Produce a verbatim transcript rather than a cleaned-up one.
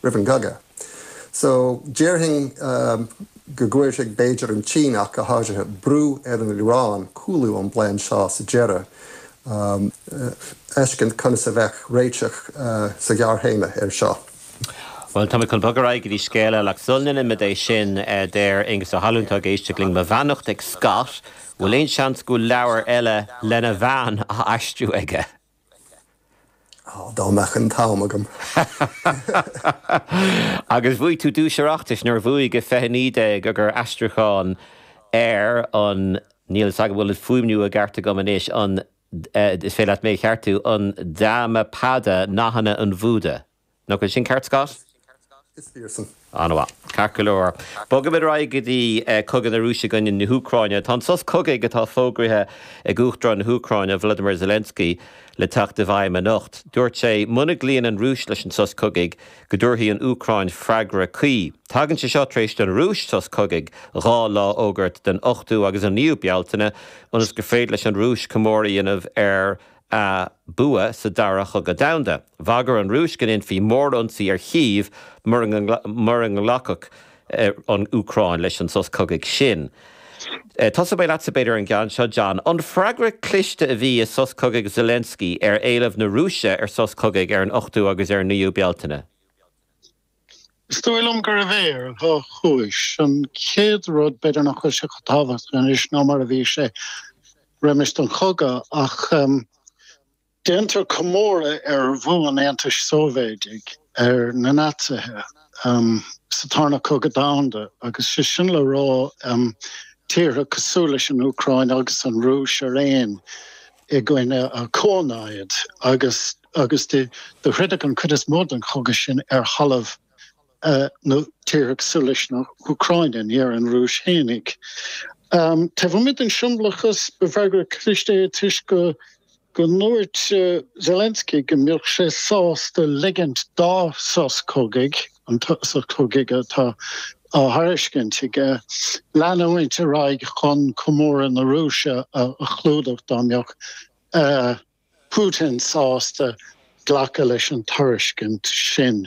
roimh an gcogadh. So déarfainn um, go gcuirfidh b'fhéidir an tSín ach go háirithe brú ar an Iaráin cúlú ón bplean seo sa deireadh. Um, feiscint conas a bheadh réiteach uh, sa ghearrthéarma ar seo. Well tá chun bogadh go dtí scéal eile sula ndéanaimid é sin eh, deir Aengus Ó hAlmhain ag éisteacht linn mo bheannacht ag Scott, bhfuil aon seans go leabhar eile lena bhean á aistriú aige. Dá mbeadh an t-am agam. Agus bhuaigh tú duais Oireachtais nuair bhuaigh go fiche naoi déag gur aistriúchán ar an níl a bhfuil fuaimniú ceart agam anois an eh, is féidir leat mé cheartú an Dhammapada nathanna an Bhúda. Nó go sin ceart Scott? Is fíor An-mhaith ceart go leor. Bogaimid go dtí eh, cogadh na Rúise i gcoinne na hÚcráine. Tá an sos cogaidh atá fógraithe ag Uachtarán na hÚcráine Vladimir Zelensky le teacht i bhfeidhm anocht. Dúirt sé muna gcloíonn an Rúis leis an sos cogaidh go dtabharfaidh an Úcráin freagra cuí. Tagann sé seo tar éis don Rúis sos cogaidh dhá lá a fhógairt den ochtú agus an naoú Bealtaine ionas gur féidir leis an Rúis comóradh a dhéanamh ar a bua sa dara chogadh domhanda. Bhagair an Rúis go ndéanfaí mórionsaí ar Chív mura nglacfadh eh, an Úcráin leis an sos cogaidh sin. Eh, Tosóidh mé leatsa b'fhéidir an ceann seo John. An freagra cliste a bhí i sos cogaidh Zelensky ar éileamh na Rúise ar sos cogaidh ar an ochtú agus ar naoú Bealtaine. Is dóigh liom gurbh é ar dhá chúis an chéad rud b'fhéidir nach bhfuil sé chomh tábhachtach anois ná mar a bhí sé roimis an chogadh ach um, Déantar comóradh ar bhua an Aontais Sóivéadaigh ar na Naitsithe um, sa Tarna Cogadh Domhanda agus sé sin le rá um, tíortha cosúil leis an Úcráin agus an Rúis araon i gcoinne a comhnaid agus agus de de throideadh an chuid is mó den chogadh sin ar thalamh uh, na tíortha cosúil leis na hÚcráine ní ar an Rúis fhéinig. Um, Taobh amuigh den siombalachas ba fhreagra cliste é toisc go go ndúirt uh, Zelensky go mbeadh sé sásta ligint dá sos cogaidh an sos cogaidh atá á thairiscint aige leanúint ar aghaidh chun comóradh na Rúise a, a chlúdach dá mbeadh uh, Putin sásta glacadh leis an tairiscint sin.